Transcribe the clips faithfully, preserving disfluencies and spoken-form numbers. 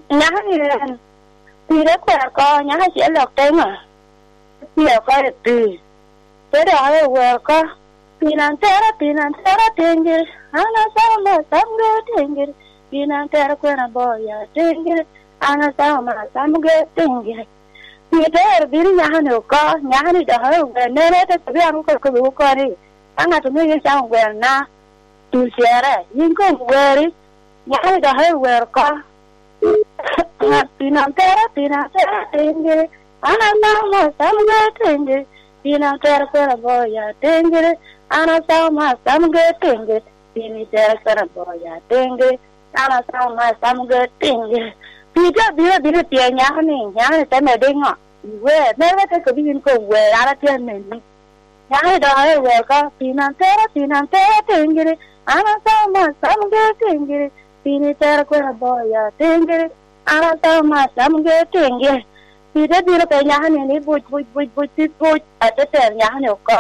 Nyako ni en, pire kwer oko, nyako acel dok teŋo, pire oko i pii. Te dok aye wer oko, "Pii nan tera, pii nan tera, tiŋgiri, an asamo ma asamgi tiŋgiri, pii nan tera kwena boya tiŋgiri, an asamo ma asamgi tiŋgiri." Pii te ero bino nyako ni oko, nyako ni dok aye wer, nene te kobi an oko kobi oko ni, "Ka ŋat omio yin camo wer na, tul cere, yin koŋ weri." Nyako ni dok aye wer oko, "Pii nan tera, pii nan tera, tiŋgiri, an asamo ma asamgi tiŋgiri, pii nan tera kwena boya tiŋgiri, an asamo ma asamgi tiŋgiri, pii ni tera kwena boya tiŋgiri, an asamo ma asamgi tiŋgiri." Pii te abino abino i pye nyako ni, nyako ni te medde ŋo? Wer, mere te kobi yin koŋ wer, an atye aneni. Nyako ni dok aye wer oko, "Pii nan tera, pii nan tera, tiŋgiri, an asamo ma asamgi tiŋgiri, pii ni tera kwena boya tiŋgiri, an asamo ma asamgi tiŋgiri." Pii te bino pe nyako ni, ni buc, buc, buc, buc, buc, buc, ate tero nyako ni oko.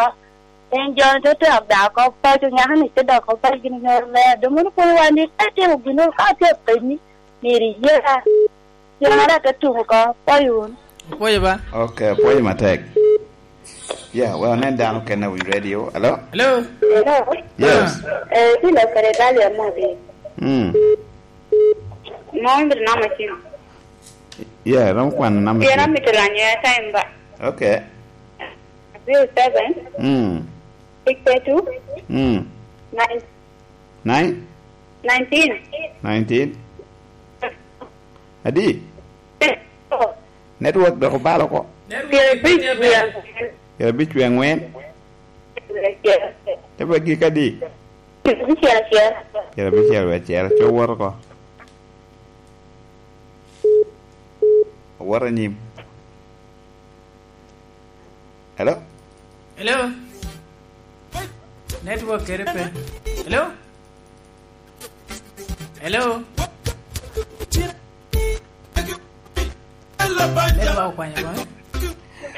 En jo ni te tero da oko paco, nyako ni te dok oko paco gin nyoro mer. Doŋ mono kono wan ni, ka itimo gin, ka atye apenyi, myero iye. Jona dok te tuko oko, pwoyo wunu. Opwoyo ba? Ok, opwoyo matek. Yeah, well, nen dano kene wi radio. Hello? Hello? Hello? Yes. Ah. Eh, kilo kare Dali Amodi. Mm. Mo imito namba cim? Yeah, romo kwano namba cim. Pien amito lanyo airtime ba. Ok. Zero seven. Mm. Six two. Mm. Nine. Nine? Nineteen. Nineteen. Adi? Network dok obalo oko. Pyerabic wie aŋwen. Pyerabic wie aŋwen. Pyerabic wie aŋwen. Te bed gik adi? Pyerabic wie acel. Pyerabic wie acel. Co wot oko. Owot anyim. Hello? Hello? Network kere pe. Hello? Hello? Network okwanyo kong.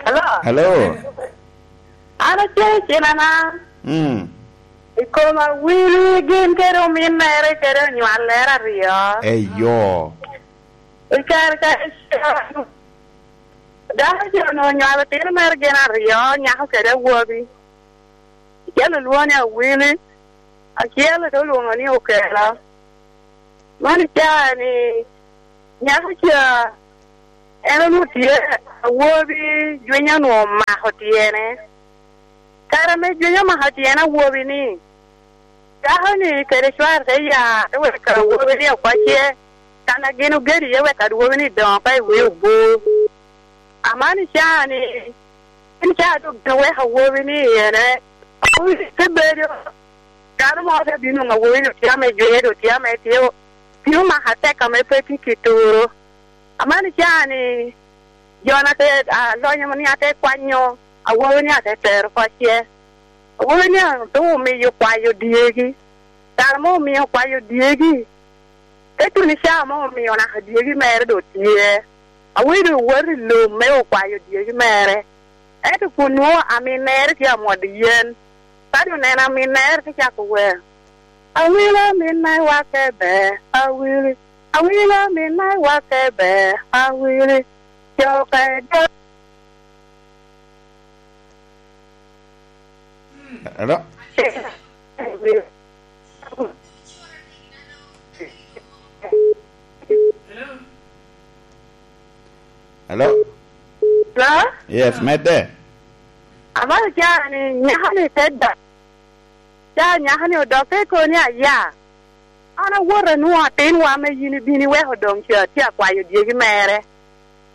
Hello? Hello? An acel cinana. Mm. I kom awili gin kede ominnere kede onywallere aryo. Eyo. I kare ka dako jo-nu onywalo otino mere gin aryo, nyako kede awobi. Acel olwoŋo ni Awili, acel te olwoŋo ni Okelo. Man icaa ni nyako ca en onwoŋo tye awobi, jwiny onwoŋo omako tyene. Kare ame jwiny omako tyen awobi-ni, dako-ni kede cware te ya, te weko awobi-ni oko ce, kan a gin ogedo iye wek awobi-ni doŋ oko i wie obur. Aman icaa-ni, en caa doŋ gin oweko awobi-ni i ene. Awobi te bedo, dano mo te bino nwoŋo awobi-ni otye ame jwinye, doŋ tye ame tye, tye omako atek ame pe tye ki turo. Aman icaa-ni, jo-na te, a, lonyo ni ate kwanyo awobi-ni ate tero oko ce. Awobi-ni doŋ omiyo kwayo dyegi. Kare mo omio okwayo dyegi. Te tuno icaa mo omio naka dyegi mere doŋ tye. Awobi doŋ owoto i lum me okwayo dyegi mere. Ento kun nwoŋo aminnere tye amwodo yen. Ka doŋ oneno aminnere te cako wer, "Awilo minna i wake ber, Awili. Awilo minna i wake ber, Awili." Coka i dog. Hello? Hello? Hello? Yes, medde. Amalo caa ni nyako ni te dok. Caa nyako ni odok te koni aya. An awoto anwoŋo atinwa ame yin ibino iweko doŋ ca tye akwayo dyegi mere.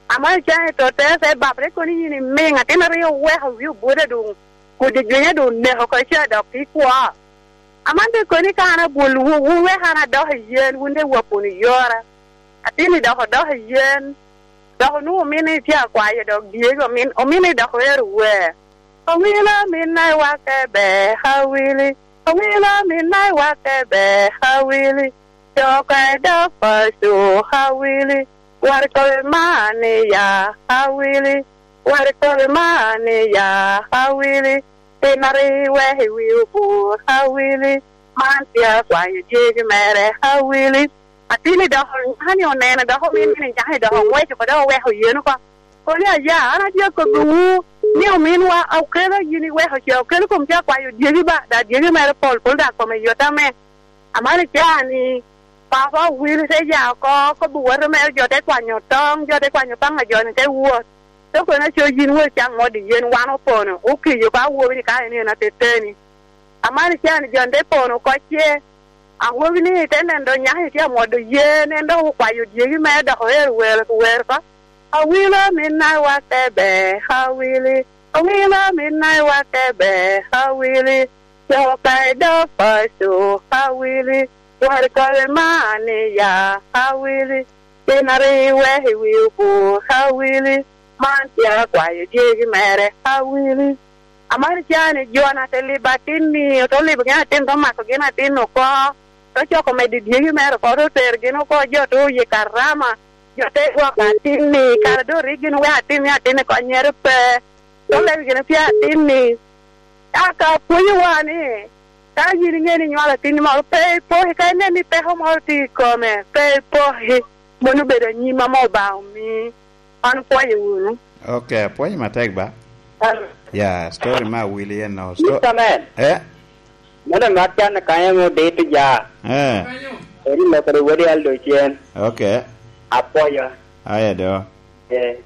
Amalo caa ni tottere te bap te koni yin imiŋ atin aryo oweko wi obuto doŋ kodi jwinye doŋ oneko oko ca dok ikwo. Aman te koni ka an abwolowu, wun wek an adok i yen, wun te wap wunu i yora. Atin-ni dok odok i yen, dok onwoŋo ominni tye akwayo dok dyegi, omin-, ominni dok ero wer. Awilo minna i wake ber, Awili. Awilo minna i wake ber, Awili. Coka i dog paco, Awili. Wari kobi man iya, Awili. Wari kobi man iya, Awili. Tin ari wek i wi obur, Awili. Man tye akwayo dyegi mere, Awili. Atin-ni dok nyaka-ni oneno, dok omin ni nyaka-ni dok oŋweco oko, dok oweko yen oko. Kono aya, an atye akobbiwu ni ominwa okelo yin iweko ca, okelo kom ca kwayo dyegi ba, da dyegi mere pol pol, da kome yot ame. Amalo ca-ni, papa Wil te ya oko, kobbi woto mere, jo te kwanyo toŋ, jo te kwanyo paŋ a jo-ni te wot. Te kono aco yin wot ca ŋot i yen, wan opono, okiyo ba awobi ni ka en en ateteni. Amalo ca-ni jo-ni te pono oko ce, awobi-ni te neno dok nyaka-ni tye amwodo yen, en dok okwayo dyegi mere dok oero wer, wer oko. Awilo minna i watte ber, awili. Awilo minna i watte ber, awili. Coka i dog paco, awili. Wari kole man iya, awili. Pien ari iweko i wi okur, awili. Man tye akwayo dyegi mere, awili. Amalo ca-ni jo-na te libo atin-ni, ote libo gin atin, te mako gin atin oko, te coko medo i dyegi mere oko, te tero gin oko, jo te oye karama, jo te gwoko atin-ni, kara doŋ rik gin oweko atin-ni, atin-ni konnyere pe. Te lego gin pien atin-ni, aka pwonyowa ni, ka yin iŋeo ni inywalo atin-ni moro, pe ipoki, ka inen ni peko moro tye i kome, pe ipoki, mano obedo anyim ame Obaŋa omii. An opwoyo wunu. Ok, apwoyo matek ba. Ah. Ya, story me Awili en no. Sto- Mister Man. Eh? Mano mat can kanya mo dito ja. Eh. Eri lokere wadi aldo cen. Ok. Apwoyo. Aya do. Eh.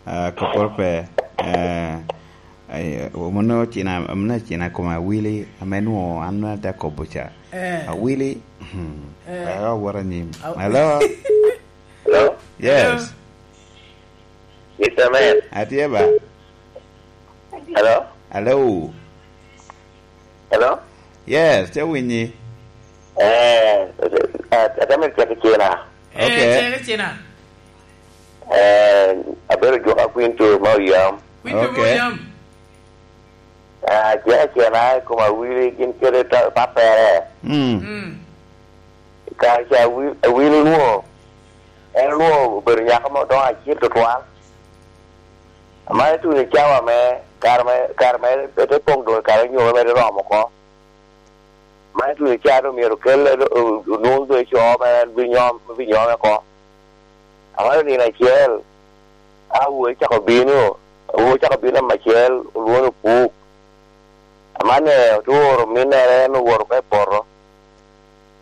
Ah, koporo pe. Eh. Ay, mano cina, mano cina koma Awili, ame nwo an nwo ate kobo ca. Eh. Awili. Hmm. Eh. Ayo, wara nyim. Aw- Hello? Hello? Yes. Hello? Mister Man. Atye ba? Hello? Hello? Hello? Yes, te winyi. Eh, at-, at-, atamo cek i cena. Eh, okay. Cek i cena. Eh, abedo Jwaka Quinto ma oyam. Quinto ma Ok. oyam. Ah, cek i cena i kom Awili gin kede ta-, pappere. Mm. Mm. Kare ca Awil-, Awili onwo, en onwo obedo nyako mo doŋ acil tutwal. Aman ituno i cawa me, kare me, kare me, pe te poŋ doŋ i kare onyomo mere romo oko. Aman ituno i cawa doŋ myero okelle, o-, onwoŋ doŋ i co mere en binyom, binyome oko. Aman nino acel, awobi ocako bino, awobi ocako bino namba acel, olwoŋo ni Opuk. Amanni ote oro ominnere, en owoto oko i poto.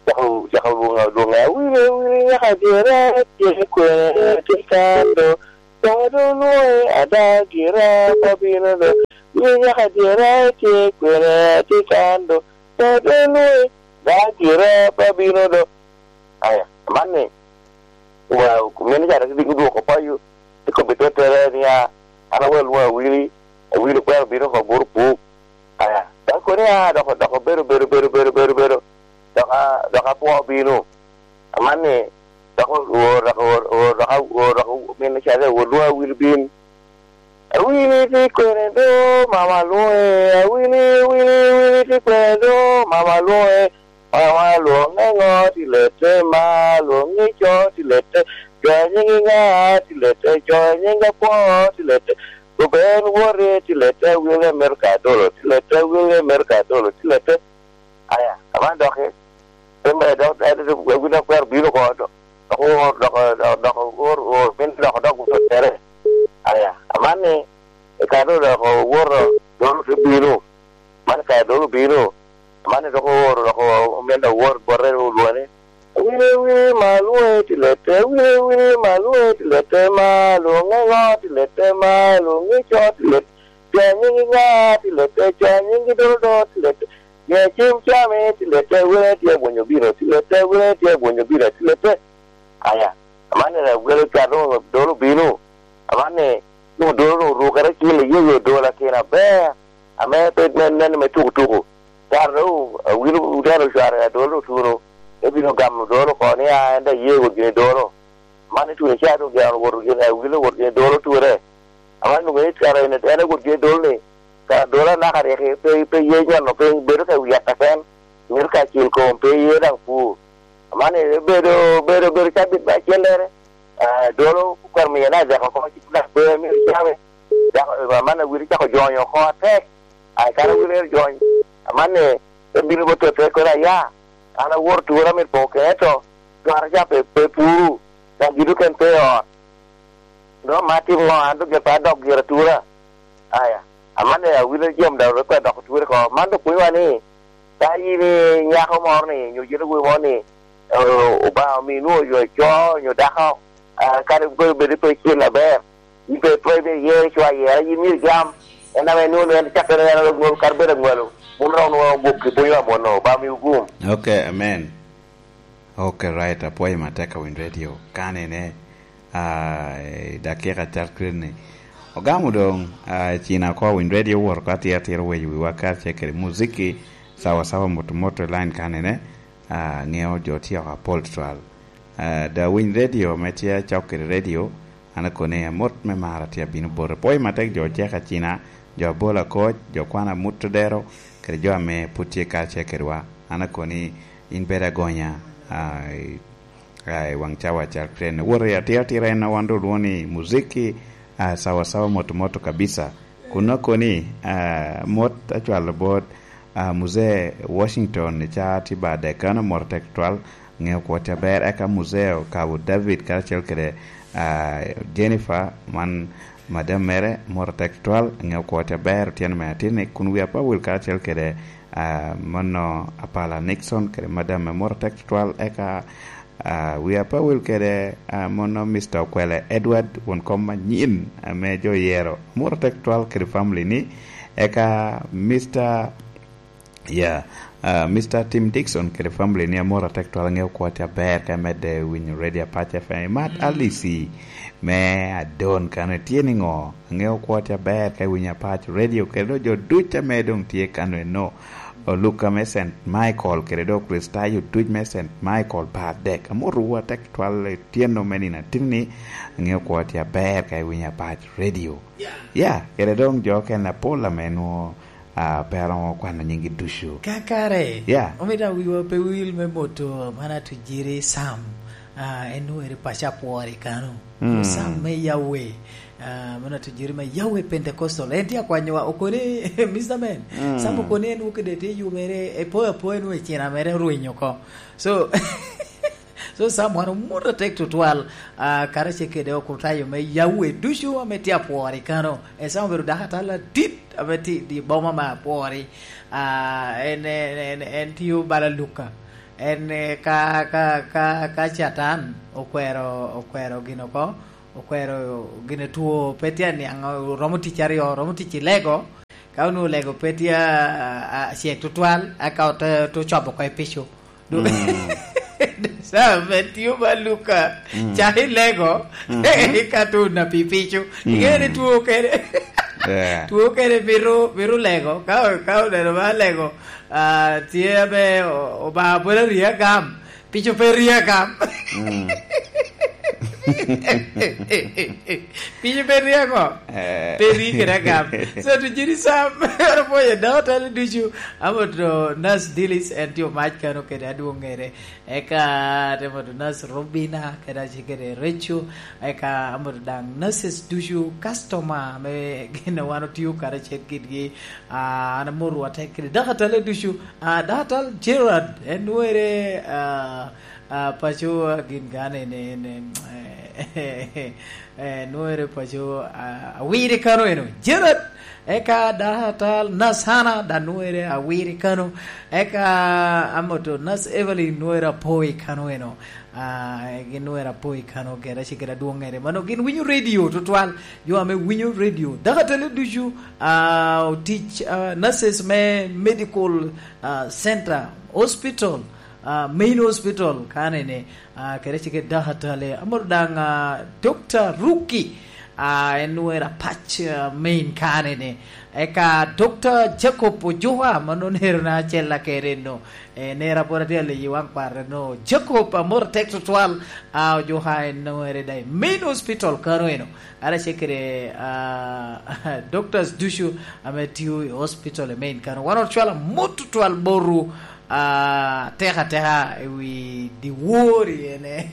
Cako, cako lwoŋo, lwoŋe, "Awili, Awili, nyaka dyera tye kwene, tye kan do. Doŋ doŋ olwoŋe ada gira, pe abino do. Awili, nyaka dyera tye kwene, tye kan do. Doŋ doŋ olwoŋe ada gira, pe abino do." Aya, amanni, wa, mene ca dok diko dwoko payo, te kobbi tottere niya, "An awero lwoŋo Awili, Awili okwero bino oko bot Opuk." Aya, dok kono ya, dok, dok obedo, bedo, bedo, bedo, bedo, bedo, dok a-, dok apwo bino. Amanni, dok o-, o-, dok o-, o-, dok a-, o-, dok o-, min ca dok olwoŋo Awili bin. "Awili tye kwene do, mama lwoŋe, Awili, Awili, Awili tye kwene do, mama lwoŋe." Mama lwoŋe ŋo tilete, ma lwoŋe co tilete, jo a nyiŋgi ŋa tilete, jo a nyiŋgi apwo tilete, Ruben wote tilete, William Mercadolo tilete, William Mercadolo tilete. Aya, aman doki, te mere dok, en, en, en, en, dok kwero bino oko, dok, dok, dok, dok, or, or, min dok, dok, dok, dok, tere. Aya, aman ni, i kare dok owoto, dok te bino. Man kare dok obino, man dok ooro, dok omin dok owot bote, olwoŋe ni, "Awili, Awili, ma lwoŋe tilete, Awili, Awili, ma lwoŋe tilete, ma lwoŋe ŋo tilete, ma lwoŋe co tilete, co a nyiŋgi ŋa tilete, co a nyiŋgi dodo tilete, miya cem came tilete, Awili tye abwonyo bino tilete, Awili tye abwonyo bino tilete." Aya, aman ni Awili ka doŋ dolo obino, aman ni doŋ dolo doŋ orukere acel, iye oye dolo akin aber, ame pe nen, nen me tuku tuku. Kare doŋ Awili oteno cware, adolo otuno, ebino gamo dolo oko ni, "A, en daŋ ye wot gini dolo." Man ituno ca doŋ gin wot gini, Awili wot gini dolo ture. Aman doŋ ŋeyo kare en, en wot gini dolo ni, ka dolo anaka rik pe, pe ye nyono piny, bedo ka wi yat aken, mito ka cil kom, pe ye daŋ pur. Aman ni bedo, bedo, bedo cabit me acellere, ah, dolo okwero miye na dek oko, cik na ber myero came. Dako, aman Awili cako jonyo oko atek. Ai, kara Awili ero jony, aman ni, te bino bot tottere kono aya, an awoto tura mit poŋo kene to, Cwara ca pe, pe puru, dok gin okene pe i ot. Dok ma atim ŋo, an dok pe adok gira tura. Aya, aman awinyo jam dok pe adok tura ko. Man dok pwonyowa ni, ka in i nyako moro ni, nyo jene woi moro ni, o-, Obaŋa omi nwoŋo yo co, nyo dako, ah, kadi pe obed i pe cen aber, in pe, pe, pe iye ico ayera, in myero igam. En ame nwoŋo en cakke en aŋwalo, kadi bed aŋwalo, mom romo nwoŋo gwok i pwonyowa mono, Obaŋa miwu gum. Ok, amen. Ok, right, apwoyo matek a Winy Radio. Kanene, ah, i dakika cal kret ni. Ogamo doŋ, ah, cina oko a Winy Radio owot oko atir atir oweyo wiwa karacel kede muziki, sawa sawa moto moto i line kanene, ah, ŋeo jo tye oko apol twal. Ah, da Winy Radio ame tye acok kede radio, an akoni amot me mara tye abino bote. Pwoyo matek jo ocek acina, jo abola koc, jo kwana mut odero, kede jo ame pud tye karacel kedwa. An akoni in bedo agonya, ah, i, ah, i waŋ cawa cal kren. Wot i atira atira en a wan doŋ olwoŋo ni muziki, ah, sawa sawa moto moto kabisa. Kun akoni, ah, mot acwalo bot, ah, Muzee Washington i ca tye ba dek kano, mot atek tutwal, ŋeo kwot aber, eka Muzee Okabo David karacel kede, ah, Jennifer, man madam mere, mot atek tutwal, ŋeo kwot aber, otyeno me atinni, kun wi apawil karacel kede, ah, mano Apala Nixon kede madam me mot atek tutwal, eka, ah, wi apawil kede, ah, mano Mister Okwele Edward, won kom manyin ame jo oyero, mot atek tutwal kede family ni, eka Mister Ya, ah, Mister Tim Dixon kede family ni amor atek twal, aŋeo kwot aber ka imedde winyo Radio Apac F M. Imat Alici me Adon kano itye niŋo? Aŋeo kwot aber ka iwinyo Apac Radio kede doŋ jo duc ame doŋ tye kano eno. Oluka me Saint Michael kede doŋ Kricitayo duc me Saint Michael pa adek. Amotowu atek twal i tyeno me nino atinni. Aŋeo kwot aber ka iwinyo Apac Radio. Ya, kede doŋ jo okene apol ame nwoŋo ah, pe aromo kwano nyinggi ducu. Kakare, ya, omito awiwa pe wil me moto man Atujiri Sam, ah, en nwoŋo eri paco apwori kano. Mm. Sam me Yahweh, ah, man Atujiri me Yahweh Pentecostal. En tye akwanyowa, okone, Mister Man, mm, Sam okone en nwoŋo kede tye yubere, epo apo en nwoŋo ecina mere orwiny oko. So, So, Sam wan omut atek tutwal, ah, karacel kede okrutayo me Yahweh ducu ame tye apwori kano. Esam obedo dako atal adit ame tye i boma me apwori. Ah, en, en, en, en tio bala Luka. En, eh, ka, ka, ka, ka Catan okwero, okwero gin oko, okwero gin two, pe tye aniaŋ, oromo tic aryo, oromo tic i lego, ka onwoŋo lego pe tye, ah, ah, acek tutwal, eka ote, ote cobo oko i pico. Du-, mm, Sam, en tio ba Luka, mhm, cak i lego, mhm, i katun a pi pico. Mm. Iŋeo ni two kene, yeah, two kene mito, mito lego. Ka, ka oneno ba lego, ah, tye ame o-, Obaŋa pwod arye agam, pico pe rye agam. Mm. Piny pe ryeko. Eh. Pe ri kede agam. So, to jiri Sam, ero pwoyo dok talo ducu. Amo to Nas Dilis, en tye omac kano kede adwoŋ ŋere. Eka, te moto Nas Robina, kede ace kede Recho. Eka, amo to daŋ nurses ducu, customer, me gin a wan otio karacel kedgi. Ah, an amoto atek kede dok atalo ducu. Ah, dok atal Gerard, en nwere, ah, Ah, paco, ah, gin gane en, en, en, eh, eh, nwere paco, ah, awiri kano eno. Gerard, eka dok atal Nas Hana, da nwere awiri kano. Eka amoto Nas Evelyn nwere apoi kano eno. Ah, gin nwere apoi kano kede acel kede adwoŋ ŋere. Mano gin winyo radio tutwal. Jo ame winyo radio. Dok atalo ducu, ah, otic, ah, nurses me medical, ah, center, hospital, ah, main hospital, kanene, ah, kede cike dakatale, amoro daŋ, ah, Doctor Ruki, ah, en nwera pac, ah, main kanene. Eka Doctor Jacob Ojuka, ma nonero na acel akere no, eh, nera pwod atye aliyi waŋ kware no. Jacob, amoro tek tutwal, ah, Ojuka en nwere da i main hospital kano eno. Ara cekere, ah, doctors ducu ame tio i hospital i main kano. Wan ocwalo amot tutwal boru, ah, teka teka i wi diwori ene,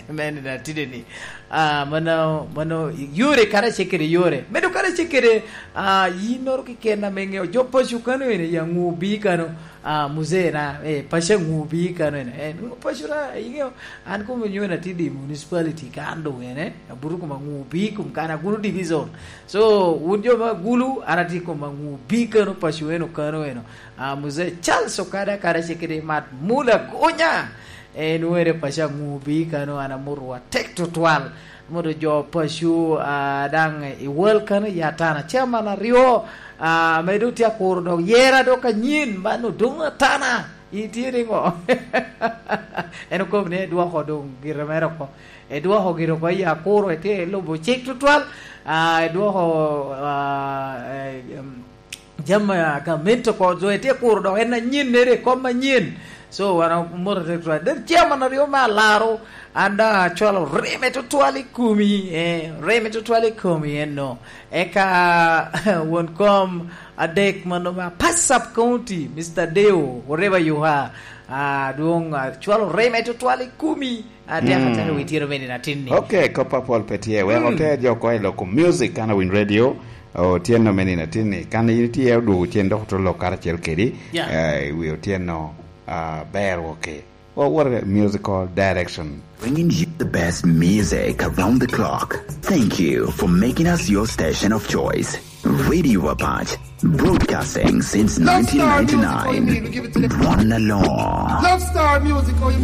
me nino atide ni. Ah, mano, mano yore karacel kede yore. Medo kare Ace kede, ah, yinnoro keken ame ŋeo jo paco kano ene, ya ŋu bi kano, ah, muzee na, eh, paco ŋu bi kano ene. Eh, ŋu paco na, iŋeo, an kome nyo na tidi municipality kan doŋ ene, abuto koma ŋu bi kum kan Agulu division. So, wun jo ma Agulu, an ati koma ŋu bi kano paco eno, kano eno. Ah, muzee Charles Okada, kara ce kede Mat Mula Gonya. En were paco aŋu bi kano, an amuto wa tek tutwal. Modo jo paco, ah, daŋ i world kano i Atana. Chairman aryo, ah, ame doŋ tye akuro dok yera dok anyen, man odoŋ Atana. Itye niŋo? En okobo ni edwoko doŋ gire mere oko. Edwoko gire oko i akuro, etye elubo cik tutwal. Ah, edwoko, ah, eh, em, jami a gamente oko, jo etye kuro dok en anyen nere i kom anyen. So, wan omoto tek tutwal. Den chairman aryo me alaro, an daŋ acwalo reme tutwal i komi, eh, reme tutwal i komi eno. Eka won kom adek mano ma Pasap County, Mister Deo, whatever you are, ah, dwong, ah, cwalo reme tutwal i komi. Atek ataka wi tiro meni na tin ni. Ok, kop apol pe tye. Wek oter jo oko i loko music kan awiny radio. Otyeno meni na tin ni. Kan in tye odwogo cen dok otulo karacel kedi. Yeah. Eh, wi otyeno, ah, ber woke. Or what a musical direction. Bringing you the best music around the clock. Thank you for making us your station of choice. Radio Apache, broadcasting since nineteen ninety-nine. One alone. Love Star Music, oh, you